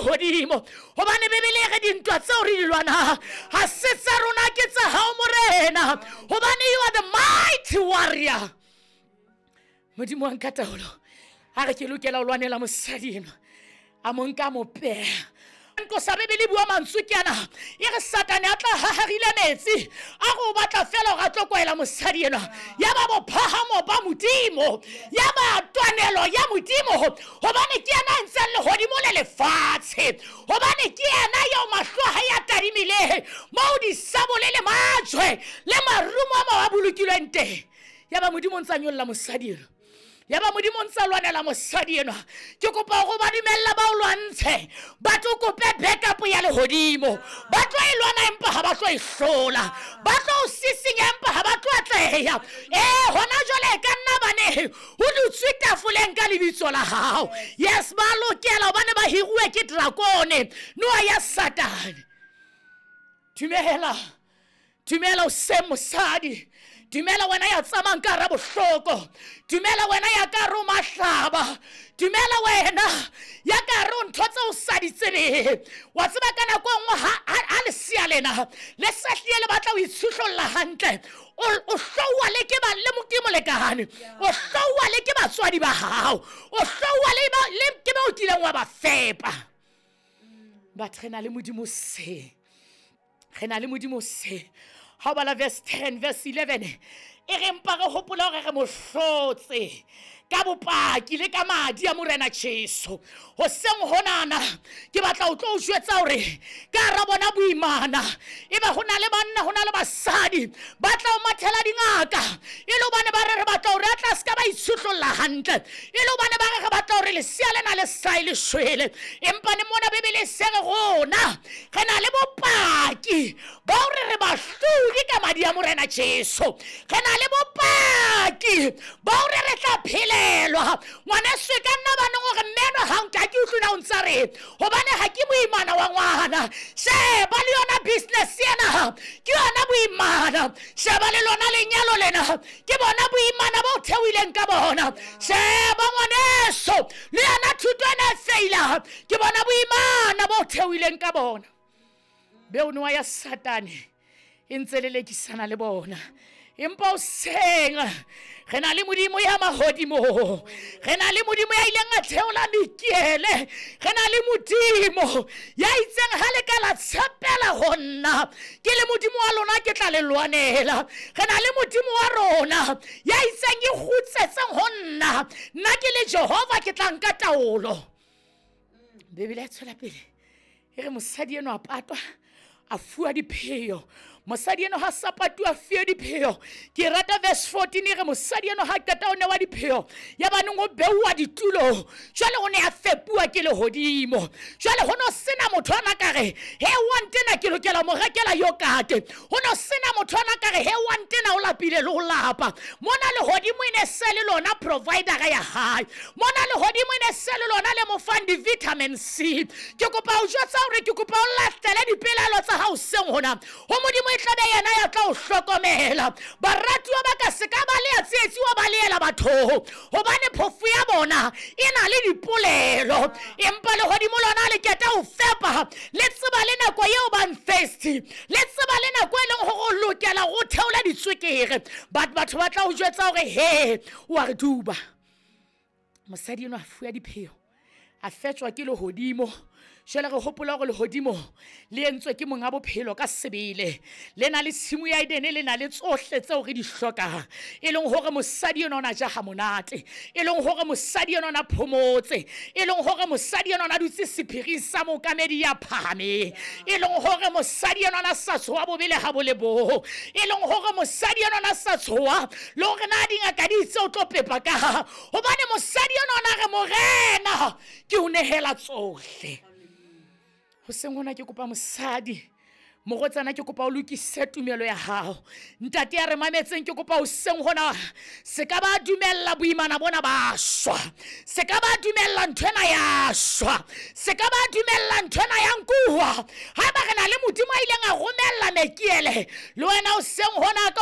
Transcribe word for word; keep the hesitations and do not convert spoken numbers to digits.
lehodimo. Hobane Bibele e re dintwa tseo re di lwanang ha se tsa rona, ke tsa hao Morena. Hobane you are the mighty warrior. Modimo wa nka taolo. A re ke lokela ho lwanela mosadi enwa. A mo nka mo peha. Nko sa Bibele bua mantswe ke ana. E re Satane a tla haharile metsi. A re o batla fela hore a tlo kwaela mosadi enwa. Ya ba bophahamo ba Modimo. Ya ba twanelo ya Modimo. Hobane ke yena a entseng lehodimo le lefatshe. Hobane ke yena eo mahlo a hae a tadimile. Moo disabole le majwe le marumo a mang a bolokilweng teng. Ya ba Modimo o ntsa nyolla mosadi enwa. Ya ba Modimo o ntsa lwanela mosadi enwa. Ke kopa hore ba dumella ba o lwantshe. Ba tlo kope backup ya lehodimo. Ba tlo e lwana empa ha ba tlo e hlola. Ba tlo o sisinya empa ha ba tlo atleha. Eh, hona jwale e ka nna bane ho dutswe tafoleng ka lebitso la hao. Yes, ba lokela hobane ba hiruwe ke drakone, noa ya Satane. Dumela. Dumela o se mosadi. Dumela wena ya tsamayang ka hara bohloko. Dumela wena ya ka hare ho mahlaba. Dumela wena ya ka hare ho ntho tseo o sa di tsebeng. Wa tseba ka nako e nngwe ha, ha, ha lesea lena le sa hlile le batla ho itshuhlolla hantle, o, o hlouwa le ke ba, le mo-, ke molekane. O hlouwa le ke batswadi ba hao. O hlouwa le ba, le ke ba o kileng wa ba fepa. But re na le Modimo se. Re na le Modimo se. Ha o bala verse ten, verse eleven, e re mpa re hopola hore re mo hlotse ka bopaki le ka madi a Morena Jesu. Hoseng honana ke batla ho tlo o jwetsa hore ka hara bona boimana ebe ho na le banna, ho na le basadi ba tla o mathela dingaka e le hobane ba re re batla hore a tla se ka ba itshuhlolla hantle, e le hobane ba re re batla hore lesea lena le sae le shwele. Empa ne mona Bibele e se re rona re na le bopaki ba hore re bahlodi ka madi a Morena Jesu. Re na le bopaki ba hore re tla phelelwa. Ngwaneso, e ka nna ba neng hore mme enwa ha nka ke utlwe na o ntsa re hobane ha ke moimana wa ngwana. Sheba le yona business ena, ke yona boimana. Sheba le lona lenyalo lena, ke bona boimana bo theohileng ka bona. Sheba ngwaneso, le yona thuto ena e feila, ke bona boimana bo theohileng ka bona. Beo noa ya Satane e ntse lelekisana le bona. Empa hoseng re na le Modimo ya mahodimo, re na le Modimo ya ileng a theola Mikiele, re na le Modimo ya itseng ha le ka la tshepela ho nna, ke le Modimo wa lona ke tla le lwanela. Re na le Modimo wa rona ya itseng e kgutsetseng ho nna, nna ke le Jehova ke tla nka taolo. Bibele e tswela pele e re mosadi enwa a patwa, a fuwa dipheo. Mosadi enwa ha sa patuwa, a fuwe dipheo. Ke rata verse fourteen e re mosadi enwa ha qeta ho newa dipheo, ya ba neng o beuwa ditulo. Jwale o ne a fepuwa ke lehodimo. Jwale ho no sena motho a na ka re, he wa ntena ke lokela mo rekela yogurt. Ho no sena motho a na ka re, he wa ntena o lapile le ho lapa. Mona lehodimo e ne se le lona provider ya hae. Mona lehodimo e ne se le lona le mo fang di-vitamin C. Ke kopa ho jwetsa hore ke kopa o latele dipelaelo tsa hao seng hona. Ho Modimo e tlabe yena ya tla o hlokomela. Baratuwa ba ka se ka ba le ya tsietsi wa ba leela batho, hobane phofu ya bona e na le dipolelo. Empa lehodimo lona le keta ho fepa, le tseba le nako eo bang thirsty, le tseba le nako e leng hore o lokela ho theola ditswekere. But batho ba tla o jwetsa hore he o a re duba. Mosadi enwa a fuwa dipheo, a fetjwa ke lehodimo. Jwale re hopola hore lehodimo le entswe ke monga bophelo ka sebele. Le na le tshimo ya Edene, le na le tsohle tseo re di hlokang. E leng hore mosadi enwa o na ja ha monate, e leng hore mosadi enwa o na phomotse, e leng hore mosadi enwa o na dutse sephiring sa mookamedi ya phahameng, e leng hore mosadi enwa o na sa tshoha bobe le ha bo le bong, e leng hore mosadi enwa o na sa tshoha le hore na dingaka di itse o tlo pepa ka ha. Hobane mosadi enwa o na re, Morena, ke o nehela tsohle. Hoseng hona ke kopa mosadi, morwetsana, ke kopa o lokise tumelo ya hao. Ntate ya re mametseng, ke kopa hoseng hona se ka ba dumella boimana bona ba shwa, se ka ba dumella ntho ena ya shwa, se ka ba dumella ntho ena ya nkuwa. Haeba re na le Modimo a ileng a romella Mekiele, le wena hoseng hona ka